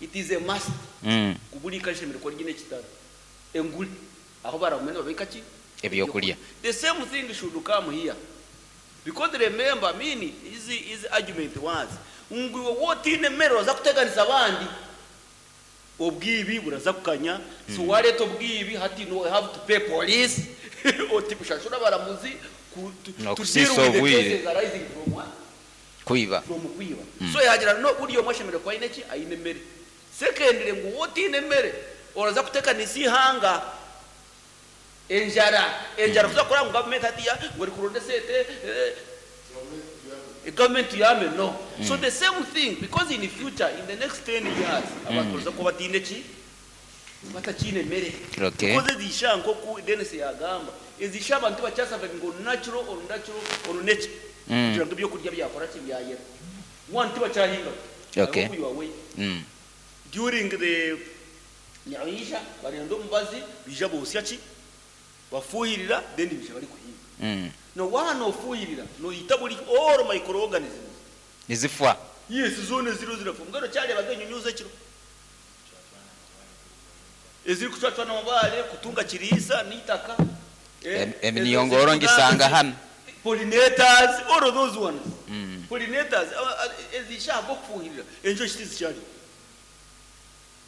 it is a must ngu buri ika rishemereire kuba riine ekitara, enguri, ahu baragume nibabiika ki? Ebyokurya. Ebyokurya. The same thing should come here. Because remember, Amiini, his, his argument was ngu iwe waaba otaine mere oraza kuteganisa abandi. Obwibi buraza kukanya, so wareta obwibi hati no have to pay police oti kushashura abaramuzi ku to deal Nokusiisa with the obwire. cases arising from what? Kwiba. From kwiba. So yagira no buri omwe ashemereire kuba aine ki? Aine emere. Secondly ngu wotiine emere oraza kutekanisa ihanga enjara. Enjara kuza kukora ngu government hatiya ngu erikuronda esente eh, Government tuyambe no. So the same thing because in future in the next 10 years abantu baraza kuba bataine ki? Batakiine mere. Because ezi ishaha nkoku Denis yagamba, ezi ishaha abantu tibakya survivinga on natural or natural or nature kugira ngu ebyokurya byakora ki? Byayera. One tibakyahinga. I hope you are aware. During the nibaija barenda omubazi baija bosya ki? Bafuhirira then baija barikuhinga. Na waaba nofuhirira noyita buri all microorganisms. Nizifwa. Yes, zoona eziriho zirafwa. Mbwenu okyareebaga enyunyuzi ekiro ezirikucwacwana amabaare kutunga kiriisa n'eitaka? Eminyongoro ngisanga hanu. Pollinators, all of those ones. Pollinators, ezi ahabw'okufuhirira enjoki tizikyariho.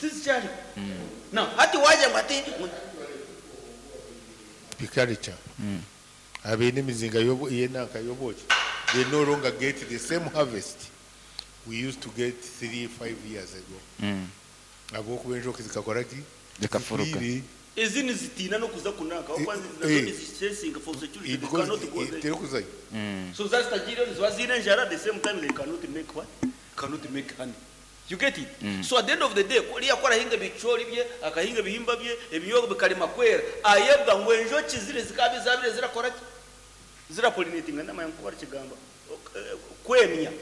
Tizikyariho. Now, hati waagira ngu hati. Apiculture abaine emizinga y'enanka y'obwoki they no longer get the same harvest we used to get 3, 5 years ago ahabw'okuba enjoki zikakora ki? Zikafuruka. Zifiire. Ezi nizitiina n'okuza kunanka ahabw'okuba nazo nizichesinga for security, they Because cannot go there. terikuzayo. So zazitagiireyo niziba ziine enjara, the same time they cannot make what? Cannot make honey. You get it? So at the end of the day, oriya ku arahinga ebicoori bye, akahinga ebihimba bye, ebinyobwa bikarema kwera, ayebwa ngu enjoki ziri zikaba zabire zirakora ki? Zirapollinatinga, ndamanya nku barikigamba. Kwemya.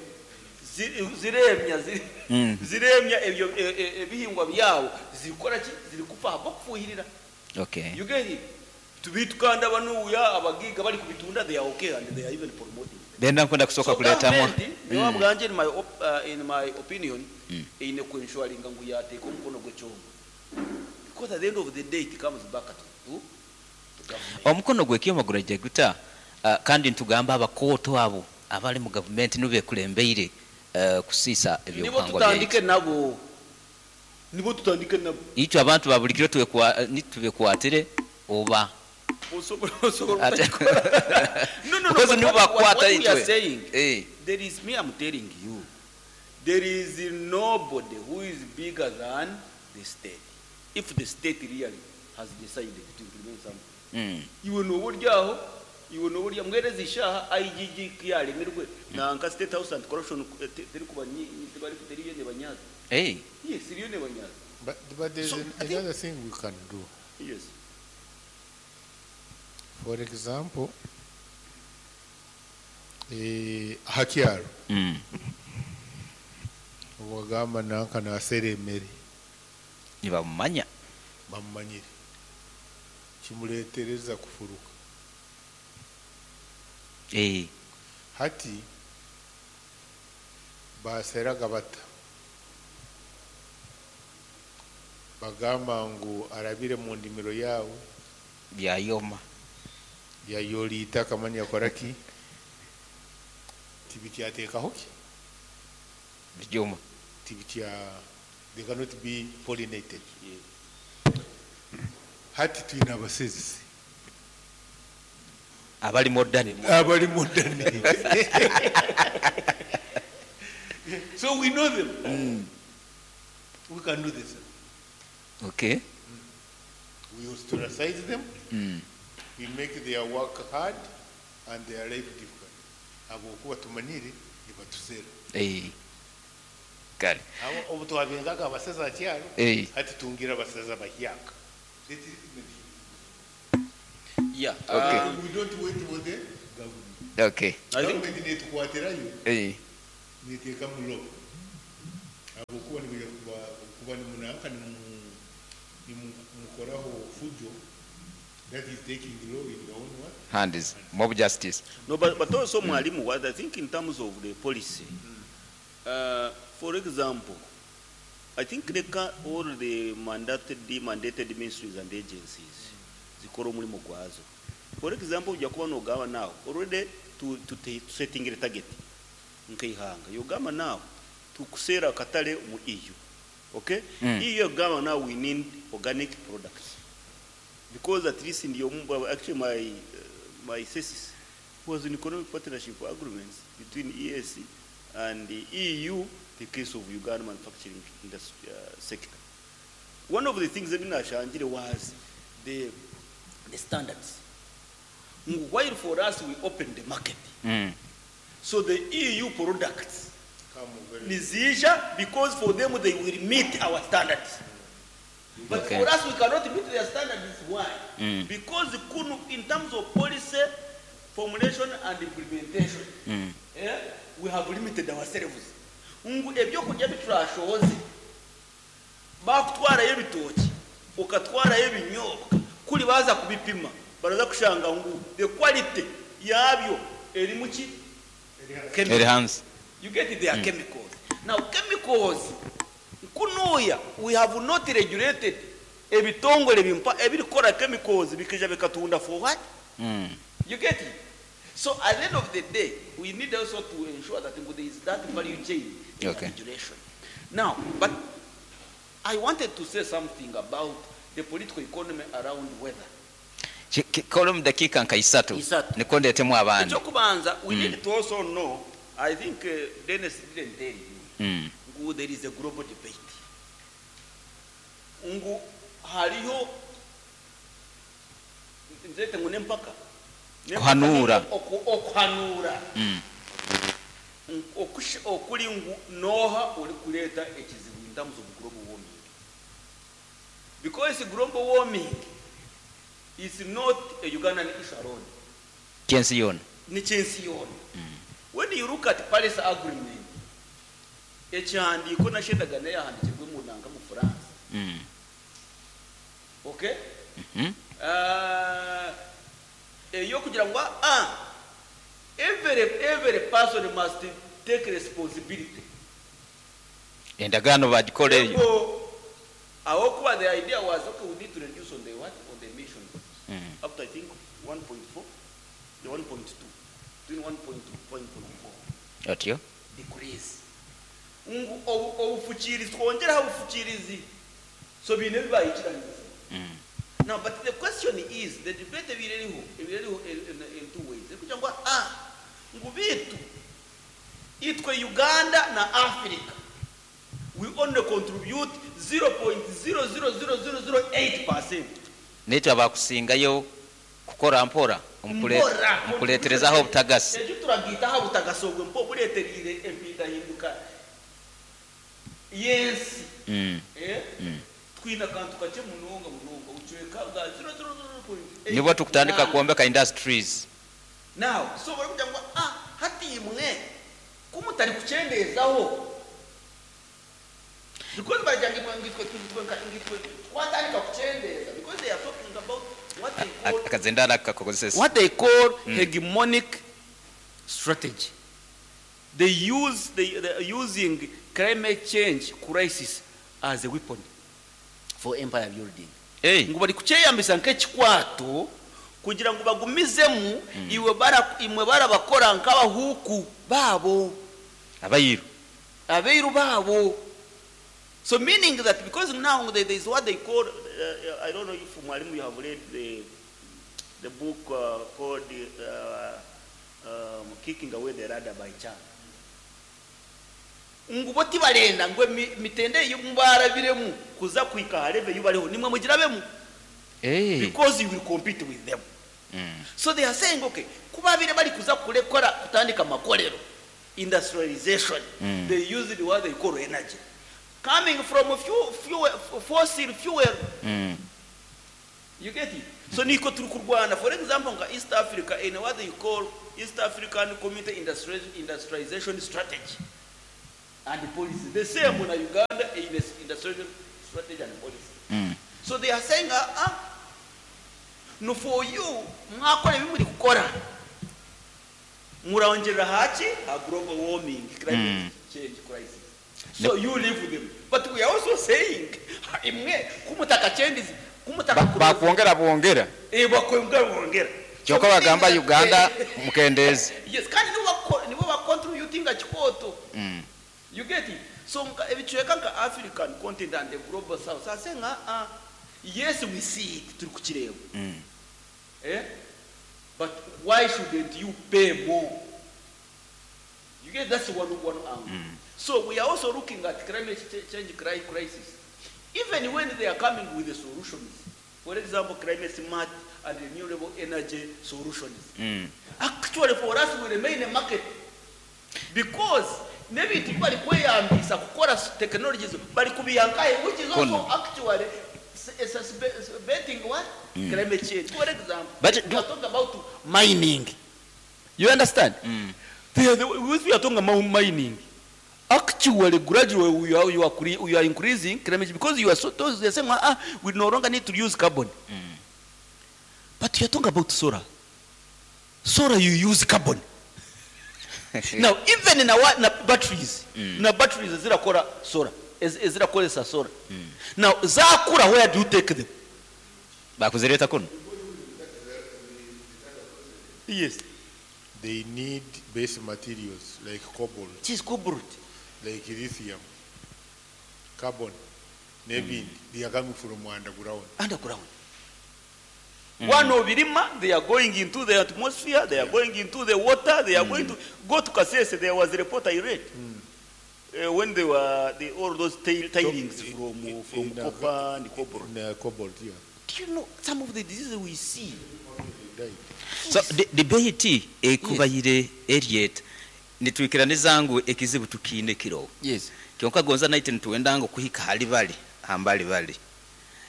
Ziremya, ziremya ebyo ebihingwa byabo, zirikukora ki? Zirikufa ahabw'okufuhirira. You get it? Beitu kandi abanuya abagiiga barikubitunda they are okay and they are even promoting. Benda nkwenda kusooka So kureetamu. government nyowe ahabwangye in my opinion eine ku ensuringa ngu yateeka omukono gw'ekyoma because at the end of the day it comes back to government. Omukono gw'ekyoma guraija guta kandi nitugamba abakooto abo abari mu gavumenti nibo bekulembeire kusiisa Nibo ebyobuhangwa tutandike byaitu. Nabo nibo tutandike nabo. Itwe abantu ba buri kiro nitubekwatire oba Osobola obutakikora. No, no, no, Because but nibo what bakwata we are itwe. saying, there is me, I'm telling you, there is nobody who is bigger than the state. If the state really has decided to implement something. Iwe noba ori aho, iwe noba ori mbwenu ezi shaaha IGG ku yaaremirwe, nanka State House Anti Corruption terikuba tibari teriyo nebanyaza. Yes, eriyo nebanyaza. But there's So, I think another thing we can do. Yes. For example, aha kyaro obwagamba nanka nasera emere Nibamumanya. Bamumanyire, kimuletereza kufuruka. Hati baseraga bata bagamba ngu arabire mu ndimiro yawe Byayoma. Yayora itaka mani yakora ki tibikyateekaho ki Bijuma. Tibikya, they cannot be pollinated. Hati twine abasezi abali modern. Abali modern, so we know them. We can do this. We ostracize them. We make their work hard and their life difficult habwokuba tumanyire nibatusera. Kale. Abo obu twabengaga abaseza aha kyaro, hati tungira abaseza bahyaka. Yeah. Okay. We don't wait for the government. Okay. I think Government netukwatirayo Eh. neteekamu law habwokuba nibaija kuba kuba nimunanka nimukoraho fujo that is taking law in your own what Hands. Mob justice. No, but also Mwalimu, what I think in terms of the policy, for example, I think all the mandated ministries and agencies zikora omurimo gwazo. For example, ojja kuba nogamba now already to setting a target nkeihanga yogamba now tukuseera akatale mu EU. Okay? EU yogamba now we need organic products because at least in the actually my thesis was in economic partnership agreements between EAC and the EU, the case of Uganda manufacturing industry sector. One of the things that Nashangire was the standards. While for us we opened the market, so the EU products come very nizija because for them they will meet our standards. But Okay. for us we cannot meet their standards. Why? Because kunu, in terms of policy formulation and implementation, we have limited ourselves. Ngu ebyokurya biturashoze bakutwarayo ebitoki ukatwarayo ebinyobwa kuri baza kubipima baraza kushanga ngu the quality yabyo eri muki Eri hands. You get it, they are chemicals. Now chemicals kunuya we have not regulated ebitongole bimpa ebirikora chemicals bikija bikatunda for what? You get it? So at the end of the day, we need also to ensure that there is that value chain in regulation. Now, but I wanted to say something about the political economy around weather. Kole mu dakiika nka isatu Isatu. niko ndeetemu abandi. Ekyokubanza, we need to also know, I think Dennis didn't tell you, ngu there is a global debate. Ngu hariho nzete ngu nempaka. Kuhanura. Okuhanura. Okuli ngu noha ori kureeta ekizibu in terms of global warming. Because global warming is not a Ugandan issue alone. Kyensi yona. Ni kyensi yona. When you look at Paris Agreement, ekihandiiko nashendagana yahandikirwe mu nanga mu France. Okay? Eyo kugira ngo every person must take responsibility. Endagaano bagikora eyo. Aho kuba the idea was okay, we need to reduce on the what? On the emission. Up to I think 1.4, the 1.2, between 1.2 1.4. Otyo? Decrease. Ngu obufukirizi twongeraho obufukirizi. So bine bibayikiraniza. Now, but the question is, the debate ebireriho in two ways. Kugira ngo ngu bitu itwe Uganda na Africa we only contribute 0.00008%. Naitwe abakusingayo kukora mpora omukuleeterezaho obutagasi. Ekyo turagitaho obutagasi obwe mpo bureeterire empindahinduka y'ensi. Twine akantu kakye munonga munonga obucweka bwa 0.008. Nibwo tukutandika kwombeka industries. Now, so barikugira ngu hati imwe kumutari kuchendezaho because baragira ngu ngitwe twatandika kuchendeza because they are talking about what they call Akazendara kakozesa what they call hegemonic strategy. They use they are using climate change crisis as a weapon for empire building. Ngu bari kukyeyambisa nk'ekikwato kugira ngu bagumizemu iwe bara imwe barabakora nk'abahuku babo abayiru abeiru babo. So meaning that because now there is what they call I don't know if Mwalimu you have read the book called Kicking Away the Radar by Chang. Ngu bo tibarenda ngo mitende y'umbarabiremu kuza kwika hareve yubariho nimwe mugirabemu. Because you will compete with them. So they are saying okay, kubabire bari kuza kurekora kutandika makorero industrialization, they use the what they call energy coming from fossil fuel. You get it? So niko turi kurwana. For example, nka East Africa in what they call East African Community Industrialization Strategy and Policy. The same in Uganda in industrialization strategy and policy. So they are saying, no, for you, mwakora ebi muri kukora, murongerera haki a global warming, climate change crisis. So you live with them. But we are also saying, imwe kumutaka changes, kumutaka Bakwongera bwongera. Bakwongera bwongera. Kyokka bagamba Uganda mukendeeze. Yes, kandi nibo ba contributing kikoto. You get it? So ebicweka nka African continent and the global south are saying, yes, we see it, turi kukireba. But why shouldn't you pay more? You get that's one angle. So we are also looking at climate change crisis. Even when they are coming with the solutions, for example, climate smart and renewable energy solutions. Actually, for us, we remain a market because maybe bari kweyambisa kukora technologies bari kubiyankaye, which is also Kono. actually exacerbating what? Climate change. For example, But we do are talking about mining. You understand? If we are talking about mining, actually, gradually we are increasing climate change because you are so they are saying, we no longer need to use carbon. But you are talking about solar. Solar, you use carbon. Now, even in our na batteries, na batteries zirakora solar, zirakoresa solar. Now, zakura, where do you take them? Bakuzireta kuno. Yes. They need base materials like cobalt. It is cobalt. Like lithium, carbon, maybe they are coming from underground. Underground. One of Birima, they are going into the atmosphere, they are going into the water, they are going to go to Kasese. There was a report I read. When they were all those tailings from copper and cobalt. In cobalt, yeah. Do you know some of the diseases we see? They died. So the debate ekubayire eriet nitwikiraniza ngu ekizibu tukiine kiro. Yes. Kyonka gonza naite nituwenda ngu kuhika hali bali hambali bali.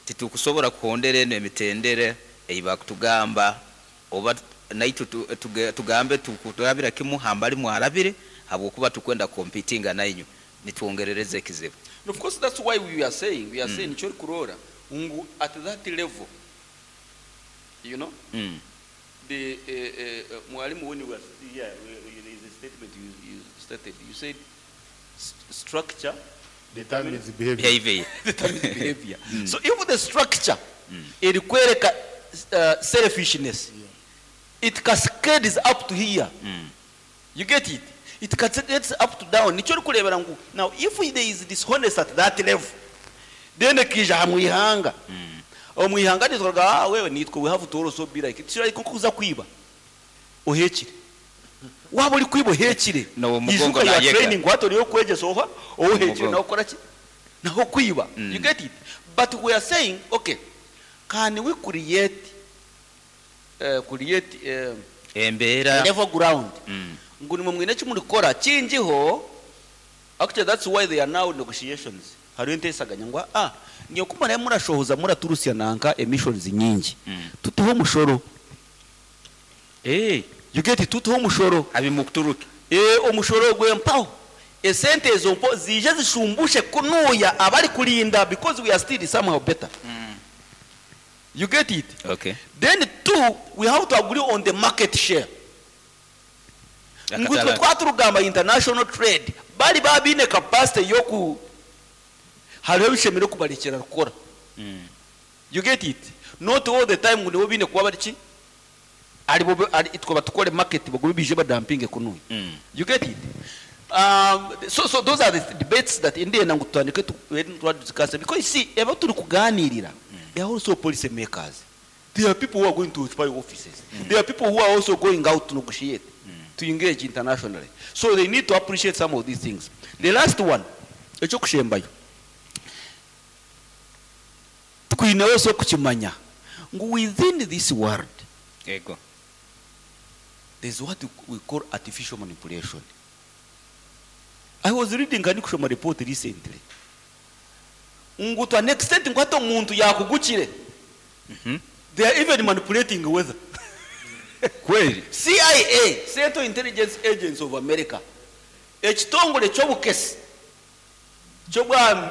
Titukusobola kuhondera eno emitendere eyibakutugamba oba naitu tugambe tukurabira kimu hambali mwarabire habwokuba tukwenda competinga nainyu nitwongerereza ekizibu. And of course that's why we are saying, we are saying chori kurora ngu at that level, you know, the mwalimu when you were yeah, there is a statement you stated. You said structure determines behavior. Behavior. Determines behavior. So if the structure it requires selfishness, it cascades up to here. You get it? It cascades up to down. Nicho kurebera ngu now if there is dishonest at that level, then kija hamwihanga. Omwihanga nitwaga wewe nitwe we have to also be like it. Like kuza kwiba. Ohekire. Waba uri kwiba ohekire. No, mugongo Izuka ya nayega. training wato yo kwegesa oha ohekire Mugongo. naho kora ki? Naho kwiba. You get it? But we are saying okay, can we create Embera level ground? Ngo nimwe mwine kimuri kora kingiho. Actually that's why they are now negotiations. Hari intesaganya ngo ngiye kumara murashohoza muraturusia nanka emissions nyingi. Tutuho mushoro. You get it? Tutuho mushoro. Abi mukuturuke. Omushoro gwe mpaho. Esente ezo mpo zije zishumbushe kunuya abari kulinda because we are still somehow better. You get it? Okay. Then two, we have to agree on the market share. Ngutwe twaturugamba international trade bari babine capacity yo ku hariho bishemere kubarekera rukora. You get it? Not all the time ngo bine kuba bari ki ari bo ari itwa batukore market bagube bije badampinge kunuye. You get it? So those are the debates that India na ngutandike tu discuss because you see eba turi kuganirira they are also policy makers. There are people who are going to occupy offices. There are people who are also going out to negotiate, to engage internationally. So they need to appreciate some of these things. The last one, echo kushembayo. Twine also kuchimanya ngu within this world Ego. there's what we call artificial manipulation. I was reading Kanikushoma report recently. Ngu to an extent ngu hata omuntu yakugukire. They are even manipulating weather. Kweli. CIA, Central Intelligence Agency of America, ekitongore ky'obukesi ky'obwa.